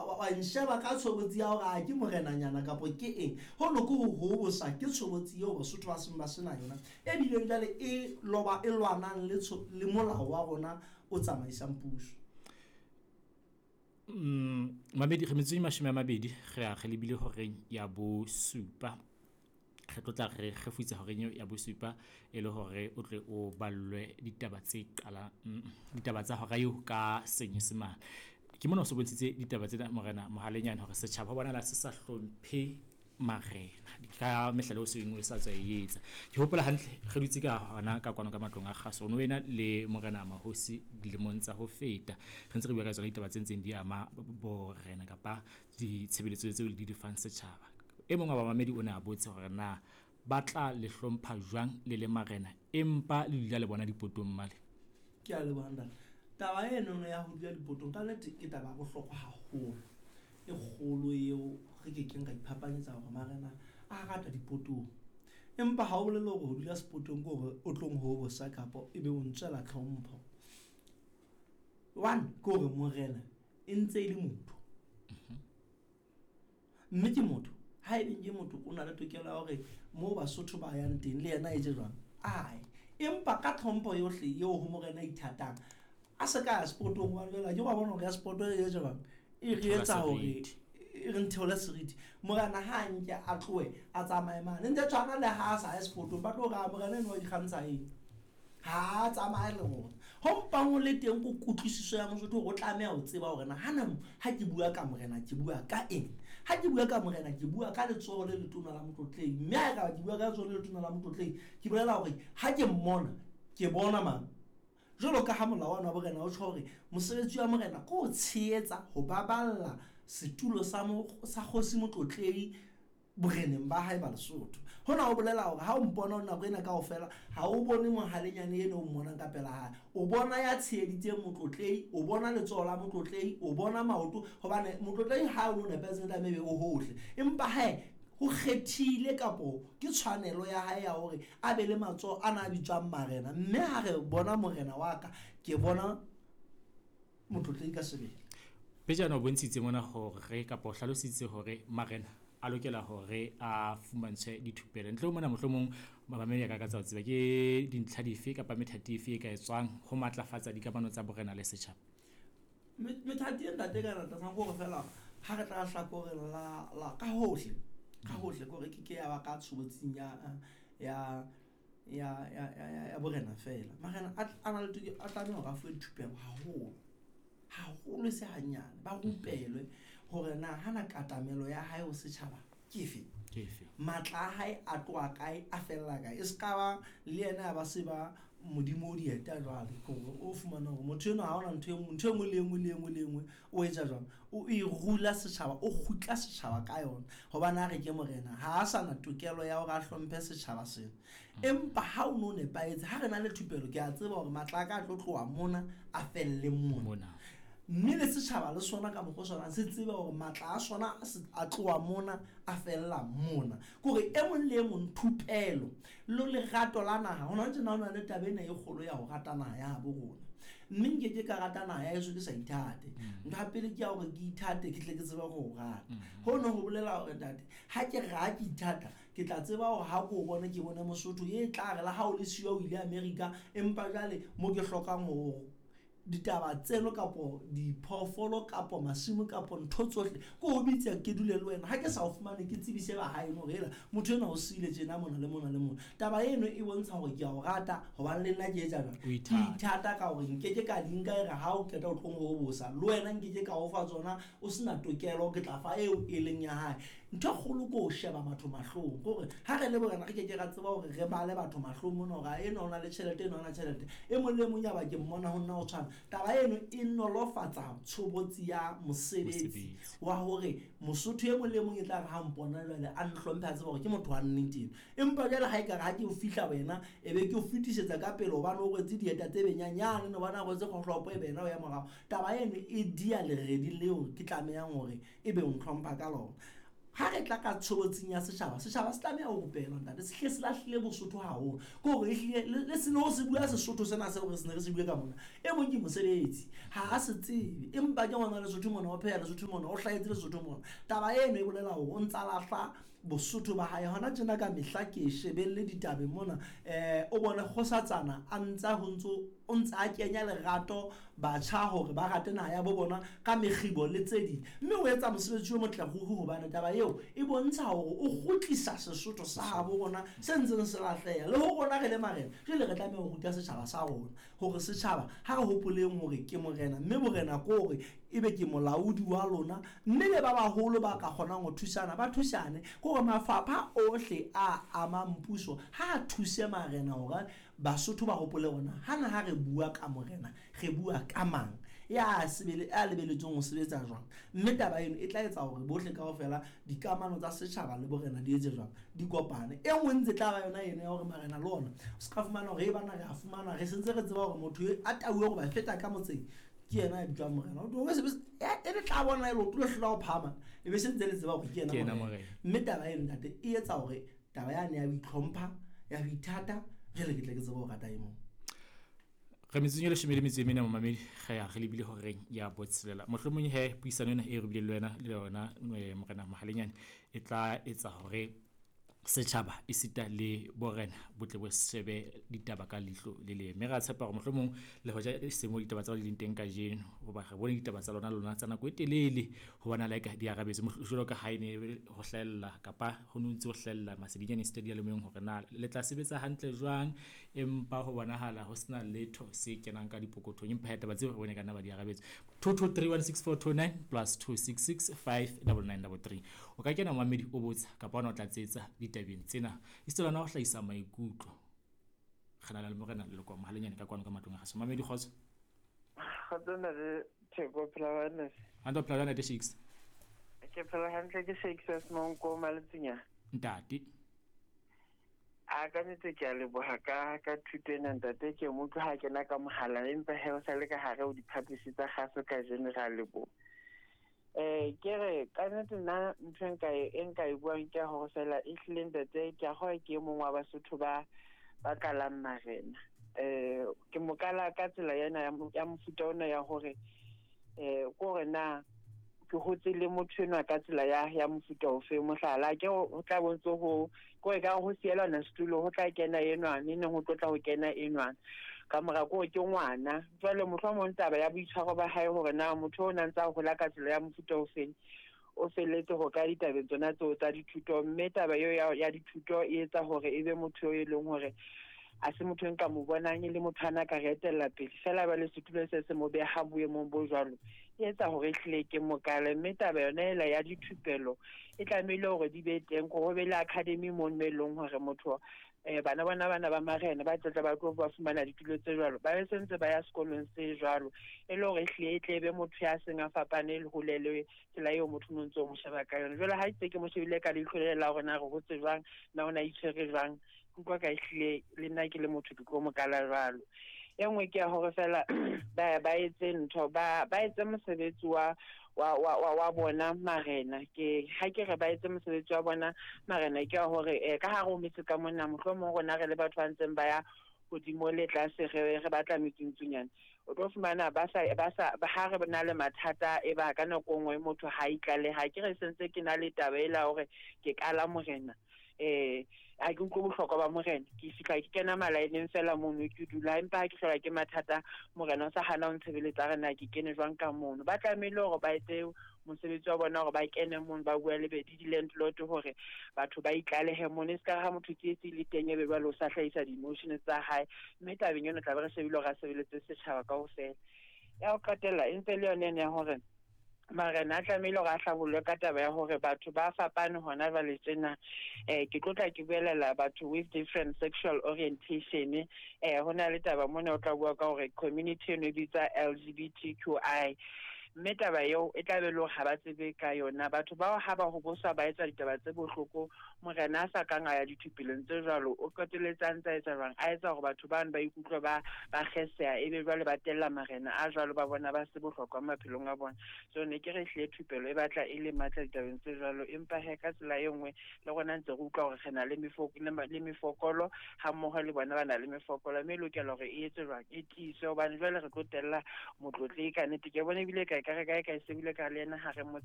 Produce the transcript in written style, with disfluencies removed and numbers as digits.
wa nsheba ka tshobotsi ya hore a ke morenanyana kapo ke eng. Hono ke ho hobosa, ke tshobotsi eo Basotho ba seng ba sena yona, e bileng jwale e loba e lwanang le le molao wa rona o tsamaisang puso. Mamedi re metsotso e 20 re ya re lebile horeng ya bosupa. Re tlo tla re kgefutsa horeng eo ya bosupa e le hore o tle o ballwe ditaba tse qalang, ditaba tsa hora eo ka Senyesemane. Ke mona o so bontshitse ditaba tsena morena Mohalenyane hore setjhaba ho bonahala se sa hlomphe marena ka mehlala o seng o sa tswa e etsa. Ke hopola hantle re dutse ka hona ka kwano ka matlong a kgaso, ono wena le morena Mahosi dilemong tsa ho feta. Re ntse re bua ka tsona ditaba tse ntseng di ama borena kapa ditshebeletso tseo di di fang setjhaba. E mong wa bamamedi o ne a botse hore na ba tla le hlompha jwang le le marena empa le dula le bona dipotong male. Ke a leboha ntate. Taba enono ya ho dula dipotong ka nnete ke taba ya bohlokwa haholo, e kgolo eo re kekeng ra iphapanyetsa hore marena a rata dipotong. Empa ha o bolele hore ho dula sepotong ke hore o tlo nhobosa kapa ebe o ntswela tlhompho. One, ke hore morena e ntse e le motho. Mme ke motho, ha ebe ke motho o na le tokelo ya hore moo Basotho ba yang teng le yena e je jwang? Ae. Empa ka tlhompho yohle eo ho morena a ithatang, a se ka ya sepotong hobane jwale akere wa bona hore ya sepoto e je jwang? E re etsa hore e re ntheole seriti. Morena ha a nke a tlohe a tsamaye mane. Ntse tshwana le ha a sa ye sepotong, ba tlo re a morena enwa o ikgantsha eng? Ha a tsamaye le rona. Ho mpang ho le teng ko kutlwisiso ya Mosotho hore o tlameha ho tseba hore na hana ha ke bua ka morena ke bua ka eng. Ha ke bua ka morena ke bua ka letsoho le letona la motlotlehi, mme ha ekaba ke bua ka letsoho le letona la motlotlehi, ke bolela hore ha ke mmona ke bona mang. Jwalo ka ha molao wa borena o tjho hore mosebetsi wa morena ke ho tshehetsa, ho baballa setulo sa sa kgosi motlotlehi boreneng ba hae ba Lesotho. Hona ho bolela hore ha o mpona nako ena kaofela, ha o bone Mohalenyane eno o mmonang ka pela hae. O bona ya tsheheditseng motlotlehi, o bona letsoho la motlotlehi, o bona maoto, hobane motlotlehi ha o no nepahetse tlameha ebe o hohle. Empa hae ho kgethile kapo ke tshwanelo ya hae ya hore a be le matsoho ana a bitswang marena. Mme ha re bona morena wa ka, ke bona motlotlehi ka sebele. Pejana o bontshitse mona hore kapa o hlalositse hore marena a lokela hore a fumantshwe dithupelo. Ntle ho mona mohlomong mamamedi a ka ka tsa ho tseba ke dintlha dife kapa methati efe e ka etswang ho matlafatsa dikamano tsa borena le setjhaba? Methati e ntate e ka ratang ke hore feela ha re tla hlakoreng la la ka hohle, ka hohle ke hore ke ke ya ba ka tshobotsing ya ya ya ya ya ya borena feela. Marena a na le tokelo, a tlameha hore a fuwe dithupelo haholo. Haholo e se hanyane, ba rupelwe hore na hana katamelo ya hae ho setjhaba ke efe. Ke efe? Matla a hae a tloha kae, a fella kae. E se ka ba le yena ya ba se ba modimo o dieta jwale, ke hore o fumana hore motho enwa ha hona ntho e nngwe, ntho e nngwe le e nngwe le e nngwe le e nngwe o etsa jwang, o e rula setjhaba, o kgutla setjhaba ka yona. Hobane ha re ke morena ha a sa na tokelo ya hore a hlomphe setjhaba sena. Empa ha o no nepahetse, ha re na le thupelo, ke a tseba hore matla a ka a tlo tloha mona a felle mona. Mme le setjhaba le sona ka mokgwa o tshwanang se tsebe hore matla a sona a tloha mona a fella mona. Ke hore e mong le e mong thupelo le lerato la naha, hona tjena ho na le taba ena e kgolo ya ho rata naha ya habo rona. Mme nkeke ka rata naha ya heso ke sa ithate. Ntho ya pele ke ya hore ke ithate, ke tle ke tsebe ho rata. Hono ho bolela hore ntate, ha ke re ha ke ithata, ke tla tseba hore ha ke o bone, ke bone Mosotho e tla re le ha o le siyo o ile America, empa jwale mo ke hlokang ho ditaba tseno kapo diphoofolo kapo masimo kapo ntho tsohle, ke o bitse ke dule le wena. Ha ke sa o fumane, ke tsebise ba haeno hore hela motho enwa o siile tjena mona le mona le mona. Taba eno e bontsha hore ke a o rata, hobane le nna ke etsa jwang? O Ke ithata. ithata ka hore nkeke ka di nka e re ha o qeta o tlo nhobosa, le wena nkeke ka o fa tsona o sena tokelo, ke tla fa eo e leng ya hae. Ntho e kgolo ke ho sheba batho mahlong, ke hore ha re le borena re keke ra tseba hore re bale batho mahlong mona hore enwa o na le tjhelete, enwa ha ana tjhelete. E mong le e mong ya ba ke mmona ho nna ho tshwana. Taba eno e nolofatsa tshobotsi ya mosebetsi wa hore Mosotho e mong le e mong e tla re ha mpona jwale a nhlomphe, a tseba hore ke motho wa nnete eno. Empa jwale ha ekare ha ke o fihla wena, e be ke o fetisetsa ka pele hobane o rwetse dieta tse benyanyane, hobane a rwetse kgohlopo e be yena o ya morao. Taba eno e diya leredi leo ke tlamehang hore ebe o ntlhompha ka lona. Ha re tla ka tshobotsing ya setjhaba, setjhaba se tlameha ho rupelwa ntate, se hle se lahlile Bosotho haholo. Ke hore ehlile le se le ho se bua Sesotho sena seo re se ne re se bue ka mona. E mong ke mosebetsi, ha a se tsebe, empa ke ngwana Lesotho mona, o pheha Lesotho mona, o hlahetse Lesotho mona. Taba eno e bolela hore o ntsa lahla Bosotho ba hae. Hona tjena ka mehla ke shebelle ditabeng mona, o bone kgosatsana a ntsa ho ntso o ntsa a kenya lerato batjha hore ba rate naha ya bo bona ka mekgibo le tse ding, mme o etsa mosebetsi o motle ruri hobane taba eo e bontsha hore o kgutlisa Sesotho sa habo rona se ntseng se lahleha. Le ho rona re le marena, jwale re tlameha ho ruta setjhaba sa rona hore setjhaba ha re hopoleng hore ke morena, mme borena ke hore ebe ke molaodi wa lona, mme le ba baholo ba ka kgonang ho thusana ba thusane. Ke hore mafapha ohle a amang puso ha a thuse marena hore Basotho ba hopole hore na hana ha re bua ka morena re bua ka mang, ya sebele ya lebeletsweng ho sebetsa jwang, mme taba eno e tla etsa hore bohle kaofela dikamano tsa setjhaba le borena di etse jwang, di kopane. E nngwe ntse tla ba yona eno ya hore marena le ona o se ka fumana hore e bana re a fumana re sentse re tseba hore motho a tauwe hore ba feta ka motseng ke yena ya bitswang morena, e le tla bona e leoto le hlola ho phahama e be se ntse le tseba hore ke yena morena. Mme taba eno ntate e etsa hore taba yane ya ho itlhompha, ya ho ithata, jwale ke tle ke tsebe ho rata e mong. Re metsotsong e leshome le metso e mene momamedi, re ya re lebile horeng ya botshelela. Mohlomong he puisano ena e re bileng le wena le yona morena Mohalenyane e tla etsa hore setjhaba esita le borena bo tle bo shebe ditaba ka leihlo le leng. Mme re a tshepa hore mohlomong le hoja e se mo ditaba tsa di leng teng kajeno, hoba re bone ditaba tsa lona lona tsa nako e telele ho bona like di arabetse jwalo ka ha e ne ho hlahella kapa ho no ntse ho hlahella masedinyane esita diyalemoyeng hore na le tla sebetsa hantle jwang, empa ho bonahala ho sena letho se kenang ka dipokothong. Empa taba tseo re bone ka nna ba di arabetse. 22316429 plus 2665993. O ka kena momamedi o botsa kapa ona o tla tsetsa ditabeng tsena, esita le hona ho hlahisa maikutlo. Re na le morena Leloko Mohalenyane ka kwano ka matlong a kgaso. Mamedi, kgotso. Kgotso ntate Theko, phela ba Hantle, phela ntate Shakes. Ke phela hantle, ke Shakes a Semonko Maletsinyana. Ntate. A ka nnete ke a leboha ka thuto ena ntate, ke mo utlwa ha kena ka mohala empa he o sa le ka hare ho diphaposi tsa kgaso kajeno, re a leboha. Ke re ka nnete nna ntho e nka e buang ke ya hore fela ehlile ntate ke a kgolwa ke e mong wa Basotho ba kalang marena. Ke mo kala ka tsela ena ya mofuta ona ya hore ke hore na ke hotse le motho enwa ka tsela ya mofuta ofe. Mohlala ke ho tla bontse ho ke ka ho sielana setulo, ho tla kena enwa ne neng ho tlotla ho kena enwa ka mora ko ke ngwana. Jwale mohlomong taba ya boitshwaro ba hae hore na motho o na ntsa hola ka tsela ya mofuta ofeng o felletse ho ka ditabeng tsona tseo tsa dithuto, mme taba eo ya dithuto e etsa hore e be motho e leng hore a se motho nka mo bonang e le motho ana ka re etella pele fela ba le setulo se se mo beha boemong bo jwalo, e etsa hore ehlile ke mokale. Mme taba yona ela ya dithupelo e tlamehile hore di be teng, ho be le academy mono e leng hore motho bana bona bana ba marena ba tlatla ba tlo ba fumana ditulo tse jwalo, ba be sentse ba ya sekolong se jwalo, e le hore ehlile e tle be motho ya seng a fapane le hole le tsela eo motho no ntso mo sheba ka yona. Jwale ha itse ke mo shebile ka leihlo le la hore na re hotse jwang, na o na itshwere jwang, utlwa ka ehlile le nna ke le motho ke tlo mo kala jwalo. E nngwe ke ya hore fela ba etse ntho, ba etse mosebetsi wa bona marena. Ke ha ke re ba etse mosebetsi wa bona marena ke ya hore ka hare ho metse ka mona mohlomong rona re le batho ba ntseng ba ya hodimo le tlase re batla metsuntsunyana, o tlo fumana ba sa ha re na le mathata e ba ka nako nngwe motho ha itlaleha. Ke re sentse ke na le taba ela hore ke kala morena, a ke utlwe bohlokwa ba morena, ke fihla ke kena malaeneng fela mono ke dula, empa ha ke hlola ke mathata morena o sa hana ho ntshebeletsa, re na ke kene jwang ka mono. Ba tlamehile hore ba etse mosebetsi wa bona hore ba kene mono, ba bua le di-landlord hore batho ba itlalehe mono, e se ka ha motho tsietsi le teng ebe jwale o sa hlahisa di-emotion tsa hae. Mme tabeng eno tla be re shebile hore a sebeletse setjhaba kaofela. Ya ho qetella e ntse le yone ena ya hore marena a tlamehile hore a hlabollwe ka taba ya hore batho ba fapane hona jwale tjena. Ke tlotla ke buelela batho with different sexual orientation. Ho na le taba mona o tla bua ka hore community eno e bitsa LGBTQI. Mme taba eo e tla be le hore ha ba tsebe ka yona. Batho bao ha ba hoboswa ba etsa ditaba tse bohloko, morena a sa kang a ya dithupelong tse jwalo, o qetelletse a ntse a etsa jwang? A etsa hore batho bano ba ikutlwe ba kgeseha, ebe jwale ba tella marena a jwalo, ba bona ba se bohlokwa maphelong a bona. So ne ke re ehlile thupelo e batla e le matla ditabeng tse jwalo, empa he ka tsela e nngwe le rona ntse re utlwa hore re na le le mefokolo, ha mmoho le bona ba na le mefokolo, mme e lokela hore e etswe jwang? E tiiswe, hobane jwale re tlo tella motlotlehi ka nnete. Ke bona ebile ka ekare kae kae se bile ka le yena ha re mo